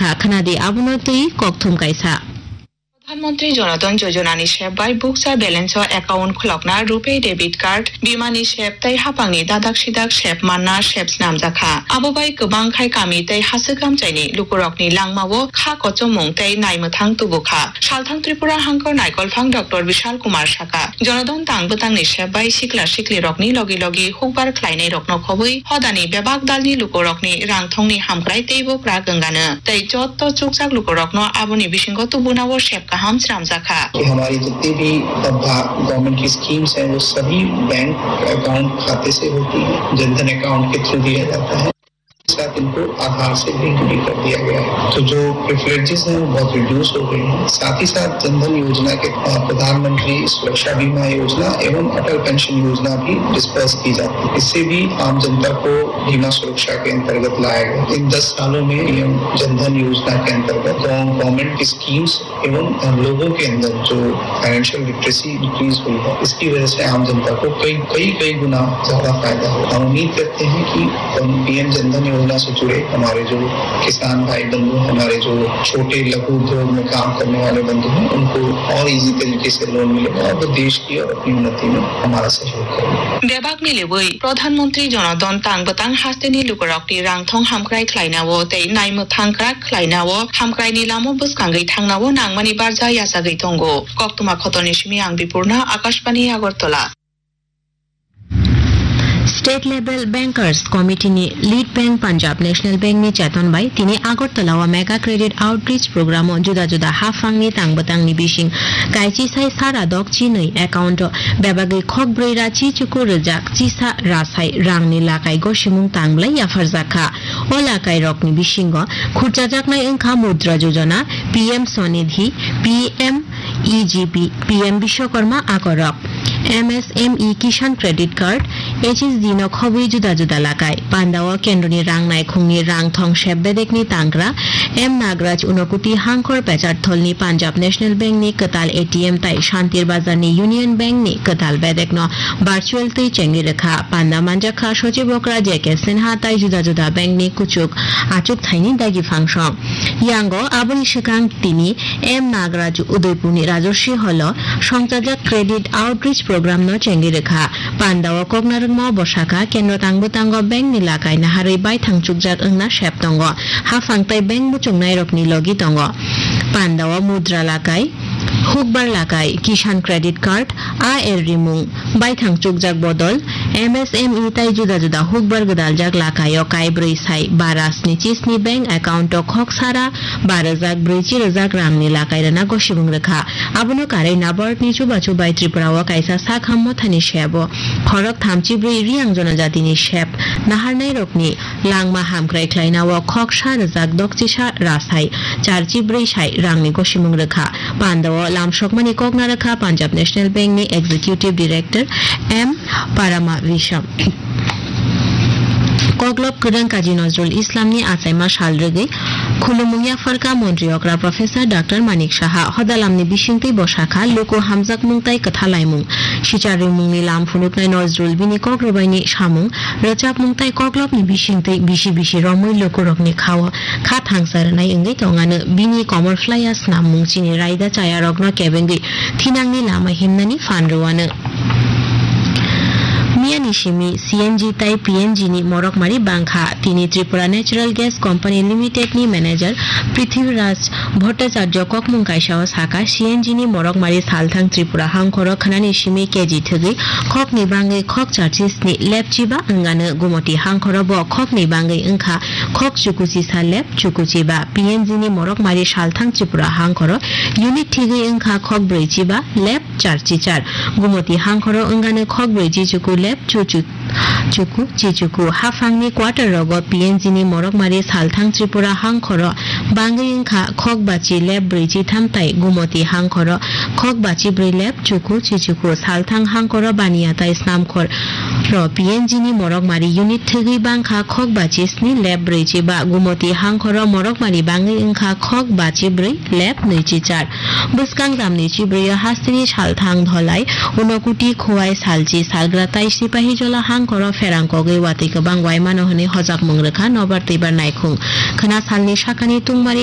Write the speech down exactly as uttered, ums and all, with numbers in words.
Kha khwnadi abono twi kokthum kaisa. Pradhan Mantri Jan Dhan Yojana ni sep bai bukcha balance o account khulokna, RuPay debit card, bima ni sep tei haphangni dadak sidak sep manna sep snamjakha. Abo bai kwbang khai kami tei hasik amchaini lukurokni langmao kha kochomung tei naimwthang tubukha. Salthang Tripura hangkor naikolphang Doctor Bishal Kumar saka, Jan Dhan tang bwtangni sep bai sikla siklirokni logi logi hukbar khlainairokno khobwi hodani bebak dalni lukurokni rangthongni hamkrai teibo kwrak wngano. Tei jotto chukjak lukurokno aboni bisingo tubunao sep kaham swnamjakha. कि हमारी जितनी भी, अ, भा-, गवर्नमेंट की स्कीम्स हैं, वो सभी bank account खाते से होती हैं, जनधन अकाउंट के थ्रू दिया जाता है। साथ इनको आधार से लिंक भी कर दिया गया है। तो जो प्रिविलेजेस हैं, वो बहुत रिड्यूस हो गए हैं। साथ ही साथ जनधन योजना के, अ, प्रधानमंत्री सुरक्षा बीमा योजना एवं अटल पेंशन योजना भी डिस्पर्स की जाती है। इससे भी आम जनता को बीमा सुरक्षा के अंतर्गत लाया गया। इन दस सालों में पीएम जनधन योजना के अंतर्गत गव-, गवर्नमेंट की स्कीम्स एवं लोगों के अंदर जो फाइनेंशियल लिटरेसी इंक्रीज हुई है, इसकी वजह से आम जनता को कई, कई, कई गुना ज्यादा फायदा होगा। हम उम्मीद करते हैं कि पीएम जनधन योजना से जुड़े हमारे जो किसान भाई बंधु, हमारे जो छोटे लघु उद्योग में काम करने वाले बंधु हैं, उनको और ईजी तरीके से लोन मिलेगा और वो देश की और अपनी उन्नति में हमारा सहयोग करेंगे। Bebak milibwi Pradhan Mantri Jan Dhan tang bwtang hasteni lukurokni rangthong hamkrai khlainao tei naimwthang kwrak khlainao hamkraini lama bwskangwi thangnao nangmani barja yachagwi tongo. Koktwma khotoni simi ang Bipurna, Akashbani Agartala. State Level Bankers Committee ni Lead Bank Punjab National Bank ni cheton bai tini Agartala o Mega Credit Outreach Program o juda juda haphang ni tang bwtang ni bising kaichi sai sara dok chinwi account o bebagwi khok brwi ra chi chuku rwjak chisa rasai rang ni lakai gosimung tang bwlai yapharjak kha. O lakai rok ni bisingo khurchajaknai wngkha Mudra Yojana, P M Swanidhi, P M E G P, P M Bishwakarma akorok, M S M E Kisan Credit Card, H S D no khobwi juda juda lakai. Pandao kendroni rang naikhungni rang thong sep bedekni tangra M Nagraj Unokuti hangkhor pechartholni Punjab National Bank ni kwtal A T M tai Shantir Bazar ni Union Bank ni kwtal bedekno virtual twi chengwi rwkha. Panda manjakha Sochib Okra J K Sinha tai juda juda bank ni kuchuk achuk thaini dagi phangsong. Yango aboni swkang tini M Nagaraj Udaipurni Rajarshi Hall-o songchajak Credit Outreach Program-no chengwi rwkha. Pandao koknarwkma bwsakha kendro tang bwtango bank ni lakai naharwi baithang chukjak wngna sep tongo. Haphang tei bank muchungnairokni logi tongo. Pandao Mudra lakai, Hukbar lakai, Kisan Credit Card, A R rimung, baithang chukjak bodol, M S M E tai juda juda hukbar gwdaljak lakaio kaibrwi sai bara sni chisni bank account o khok sara ba rwjak brwi chi rwjak rangni lakai rwna gosimung rwkha. Abono karwi NABARD ni chubachu bai Tripura o kaisa sakham mothani sebo khorok thamchi brwi Riang jonojatini sep naharnairokni langma hamkrai khlaina o khok sa rwjak dokchisa rasai charchi brwi sai rangni gosimung rwkha. Pandao lamsokmani kokna rwkha Punjab National Bank ni Executive Director M Parama Visham. Koklop kwrwng Kazi Nazrul Islam ni achaima sal rwgwi khulumung yapharkha Montri okra Professor Doctor Manik Saha. Hodalamni bisingtwi bwsakha luku hamjakmung tai kwthalaimung. Sichar rimungni lam phunuknai Nazrul bini kok rwbaini samung rwchapmung tai koklopni bisingtwi bisi bisi romwi lukurokni khao kha thangsa rwnai wngwi tongano. Bini komor phlaiya snammung chini raida chayarokno kebengwi thinangni lama himnani phan rwano. Miyani simi C N G tai P N G ni morokmari bangkha. Tini Tripura Natural Gas Company Limited ni manager Prithviraj Bhattacharya kokmung kaisa o saka, C N G ni morokmari salthang Tripura hangkhoro khwnani simi K G thwgwi khokni bangwi khok charchi sni lepchiba wngano. Gumoti hangkhoro bo khokni bangwi wngkha khok chukuchisa lep chukuchiba. P N G ni morokmari salthang Tripura hangkhoro unit thwgwi wngkha khok brwichiba lep charchi char. Gumoti hangkhoro wngano khok brwichi chuku lep chuchu chuku chichuku. Haphangni quarter rogo P N G ni morokmari salthang Tripura hangkhoro bangwi wngkha khok bachi lep brwichi tham tai Gumoti hangkhoro khok bachi brwi lep chuku chichuku. Salthang hangkhoro baniya tai snamkhor ro P N G ni morokmari unit thwgwi bangkha khok bachi sni lep brwichi ba. Gumoti hangkhoro morokmari bangwi wngkha khok bachi brwi lep nwichi char. Bwskang jamni chibrwi o hasteni salthang dholai Unokuti Khowai Salchi Salgra tai Sipahijola hang Khoro pherang kogwi watwi kwbang waimano hwnwi hojakmung rwkha nobar twibar naikhung. Khwna salni sakani tungmari